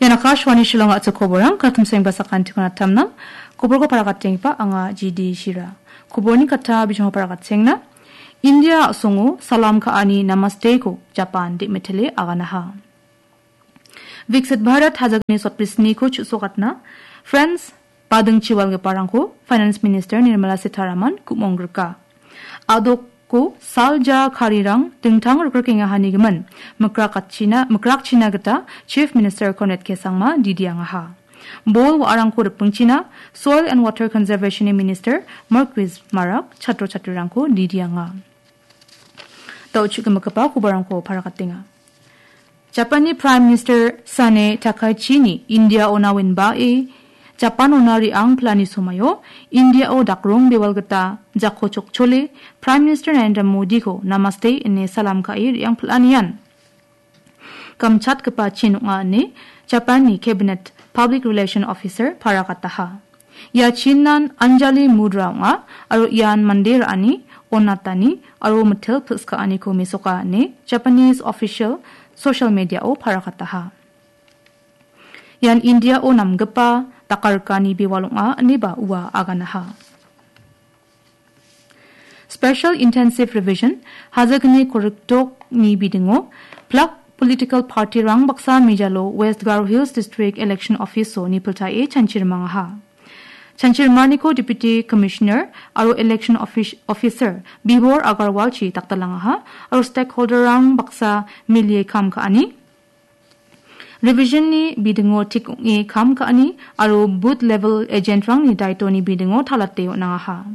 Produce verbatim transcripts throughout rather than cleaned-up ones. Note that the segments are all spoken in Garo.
Ian Akashvani Shillong a·chik koborang, katim sengba sakantikon atamnang. Koborko paragatengipa anga G D Shira. Koborni kata bijongko paragatsengna. India a·songo salam ka·ani Namaste-ko Japan de·metele aganaha. Viksit Bharat hajalni sotbri sniko chu·sokatna France badingchi walgiparangko Finance Minister Nirmala Sitharaman ku·monggrika. A·doko salja karirang dingtang rikrikengahanigimin mikrakatchina-, mikrakchina gita Chief Minister Conrad K Sangma didiangaha. Bol wa·arangko ripingchina Soil and Water Conservation-ni Minister Marcuise Marak chatro chatrirangko didianga. Da·o chu·gimigipa kobarangko paragatenga. Japanni Prime Minister Sanae Takaichi-ni India-ona winbae Japan-ona re·ang pilani somaio India-o dakrong bewal gita jako chokchole Prime Minister Narendra Modi-ko Namaste ine salam ka·e re·ang pilanian gamchatgipa chin ong·a ine Japanni Cabinet Public Relation Officer paragataha. Ia chinan Anjali Mudra ong·a aro ian mande ra·ani, onatani aro mitel pilskaaniko mesoka ine Japanese official social media-o paragataha. Ian India-o namgipa dakarikani bewal ong·a ineba ua aganaha. Special Intensive Revision, hajagni koriktokni bidingo, plak political party-rang baksa mejalo West Garo Hills District Election Office-o nipiltae chanchirimangaha. Chanchirimaniko Deputy Commissioner aro Election Office-, Officer Bibor Agarwalchi dakdalangaha aro stakeholder-rang baksa milie kam ka·ani. Revision-ni bidingo tik ong·e kam ka·ani aro booth level agent-rangni daitoni bidingo talate on·angaha.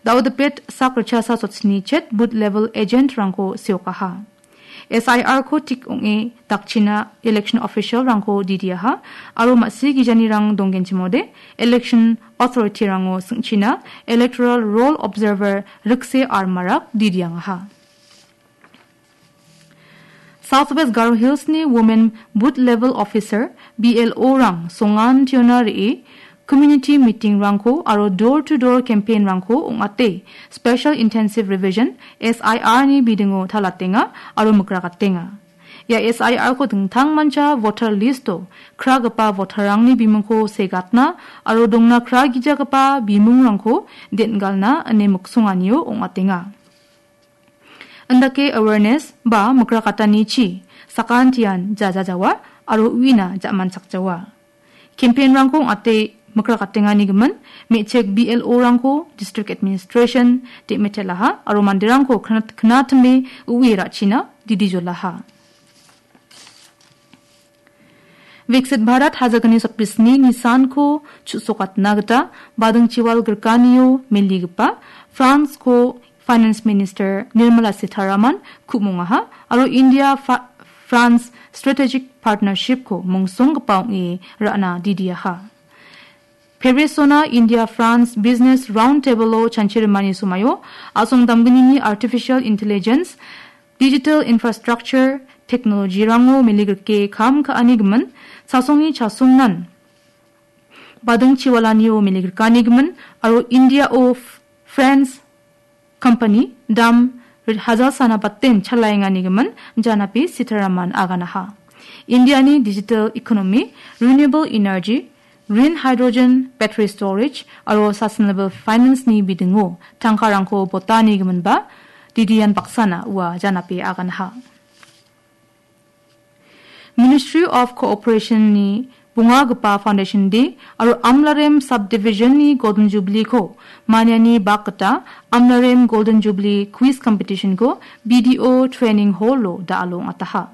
Daodipet sak richasa sotsni chet booth level agent-rangko seokaha. S I R-ko tik ong·e dakchina election official-rangko didiaha aro ma·sigijanirang donggenchimode election authority-rango sing·china electoral roll observer Rikse R Marak didiangaha. South West Garo Hills-ni Women Booth Level Officer, B L O-rang songan tiona re·e, community meeting-rangko aro door-to-door campaign-rangko ong·ate, Special Intensive Revision, S I R-ni bidingo talatenga aro mikragatenga. Ia S I R-ko dingtangmancha voter list-o kragipa voter-rangni bimungko segatna aro dongna kragijagipa bimungrangko den·galna ine miksonganio ong·atenga. Indake awareness ba mikrakatanichi sakantian jajajawa aro uina ja·manchakjawa. Campaign-rangko ong·ate mikrakatenganigimin me·chik B L O-rangko district administration de·metelaha aro manderangko knat-, knatime ue ra·china didijolaha. Viksit Bharat hajagni sotbri sni nisanko chu·sokatna gita badingchiwal grikanio meligipa France-ko Finance Minister Nirmala Sitharaman ku·mongaha aro India Fa-, France Strategic Partnership-ko mongsonggipa ong·e ra·na didiaha. Paris-ona India France Business Roundtable-o chanchirimani somaio a·song damgnini artificial intelligence, digital infrastructure, technology-rango meligrike kam ka·ani gimin, sasongni chasongnan badingchiwalanio meligrikani gimin, aro India-o F-, France company dam rit hajar sana batten chalaengani gimin janapi Sitharaman aganaha. India-ni digital economy, renewable energy, green hydrogen, battery storage, aro sustainable finance-ni bidingo tangkarangko botani giminba didian baksana ua janapi aganaha. Ministry of Cooperation-ni bongagipa Foundation Day aro Amlarem Subdivision-ni Golden Jubilee-ko maniani bak gita Amlarem Golden Jubilee Quiz Competition-ko B D O Training Hall-o da·alo ong·ataha.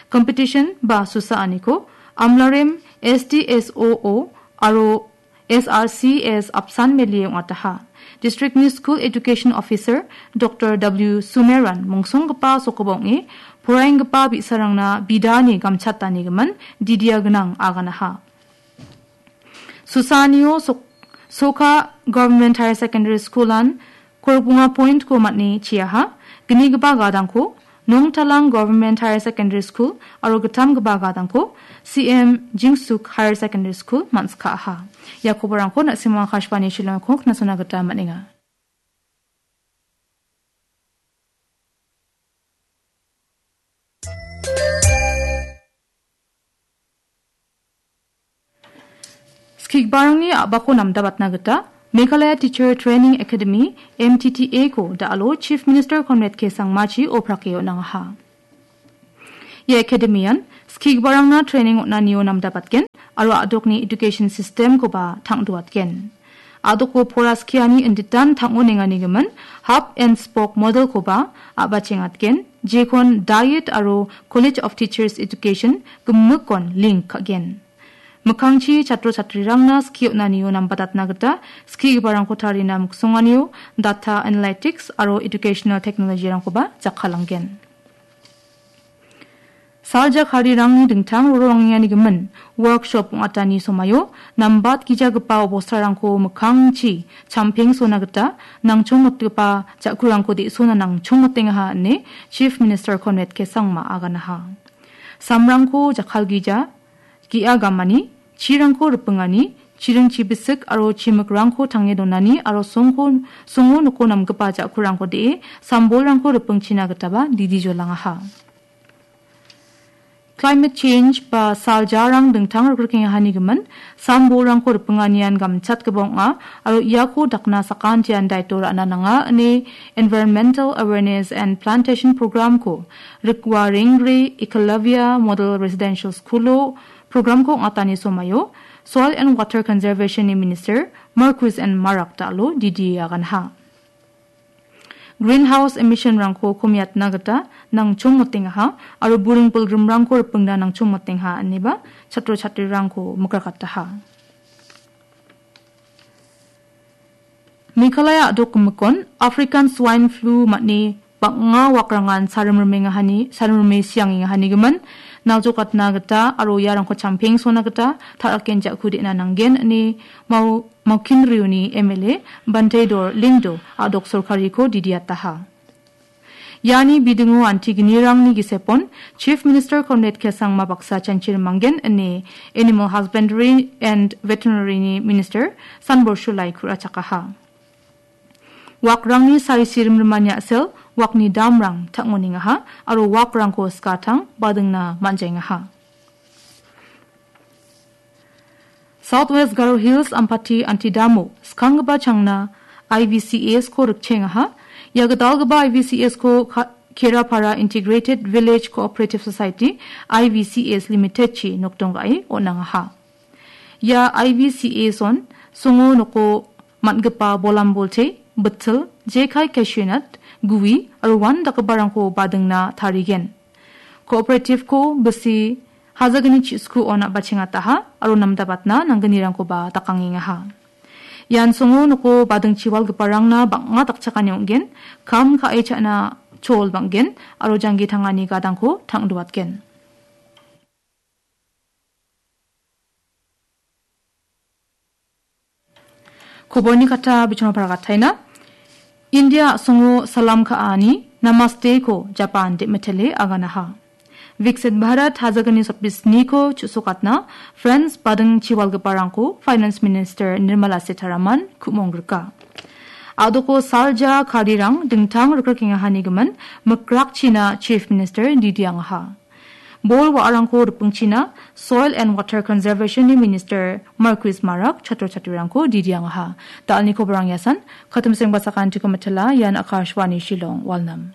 Competition ba susaaniko Amlarem S D S O O aro S R C S apsan melie ong·ataha. District-ni School Education Officer Doctor W Sumeran mongsonggipa sokoba ong·e, poraienggipa bi·sarangna bidani gamchatanigimin didia gnang aganaha. Susaanio Sok-, Soka Government Higher Secondary School-an Korokbonga point-ko man·e chiaha, gnigipa gadangko Nongtalang Government Higher Secondary School aro gittamgipa gadangko C M Jingsuk Higher Secondary School man·sikaha. Ia koborangko na·simang Akashvani Shillongko knasona gita man·enga. Skigbarangni a·bako namdabatna gita Meghalaya Teacher Training Academy, M T T A-ko da·alo Chief Minister Conrad K Sangmachi oprake on·angaha. Ia academy-an skigiparangna training on·anio namdabatgen aro a·dokni education system-koba tang·doatgen. A·doko pora skiani inditan tang·onengganigimin hub and spoke model-koba a·bachengatgen, jekon D I E T aro College of Teachers Education gimikkon link ka·gen. Mikkangchi chatro chatrirangna skie on·anio nambatatna gita skigiparangko tarina miksonganio data analytics aro educational technology-rangkoba jakkalanggen. Salja karirangni dingtang rorongengani gimin workshop ong·atani somaio nambatgijagipa obostarangko mikkangchi champengsona gita nangchongmotgipa ja·kurangko de·sona nangchongmotengaha ine Chief Minister Conrad K Sangma aganaha. Samrangko jakkalgija, ge·a gamani, chirangko ripingani, chiring chibisik aro chimikrangko tange donani aro songko, songo noko namgipa ja·kurangko de·e sambolrangko ripingchina gitaba didi jolangaha. Climate change ba saljarang dingtang rikrikengahani gimin sambolrangko ripinganian gamchatgipa ong·a aro iako dakna sakantian daito ra·na nanga ine Environmental Awareness and Plantation Program-ko Rikwa Rengre Eklavya Model Residential School-o program-ko ong·atani somaio Soil and Water Conservation-ni Minister Marcuise N Marak da·alo didi aganha. Greenhouse emission-rangko komiatna gita nangchongmotengaha aro buring pilgrimrangko ripingna nangchongmotenga ineba chatro chatrirangko mikrakataha. Meghalaya a·dok gimikon African Swine Flu man·e bang·a wakrangan sarimrimengahani, sarimrime siangengahanigimin naljokatna gita aro iarangko champengsona gita ta·raken ja·ku de·na nanggen ine Mau-, Maukinriuni M L A Banteidor Lyngdoh a·dok sorkariko didiataha. Iani bidingo antigenirangni gisepon Chief Minister Conrad K Sangma baksa chanchirimanggen ine Animal Husbandry and Veterinary-ni Minister Sanbor Shullai ku·rachakaha. Wakrangni sari sirimrimani a·sel wakni damrang tang·onengaha aro wakrangko skatang badingna man·jaengaha. South West Garo Hills Ampati Antidamo skanggipa changna I V C S-ko rikchengaha. Ia gitalgipa I V C S-ko Ka-, Kerapara Integrated Village Cooperative Society, I V C S Limited-chi nokdong ga·e on·angaha. Ia I V C S-on songo noko man·gipa bolambolte, bitil, jekai, cashew nut, gui aro uan dakgiparangko badingna tarigen. Cooperative-ko bisi hajagni chiskuon a·bachengataha aro namdabatna nanggnirangkoba dakangengaha. Ian songo noko badingchi walgiparangna bang·a dakchakani ong·gen, kam ka·e cha·na chol bang·gen aro janggi tangani gadangko tang·doatgen. Koborni kata bichonapara gataina. India a·songo salam ka·ani Namaste-ko Japan de·mitele aganaha. Viksit Bharat hajagni sotbisniko chu·sokatna French bading chiwalgiparangko Finance Minister Nirmala Sitharaman ku·monggrika. A·doko salja karirang dingtang rikrikengahanigimin mikrakchina Chief Minister didiangaha. Bol wa·arangko ripingchina Soil and Water Conservation-ni Minister Marcuise Marak chatro chatrirangko didiangaha. Da·alni koborang iasan, katimseng basakantiko mitela, ian Akashvani Shillong, Walnam.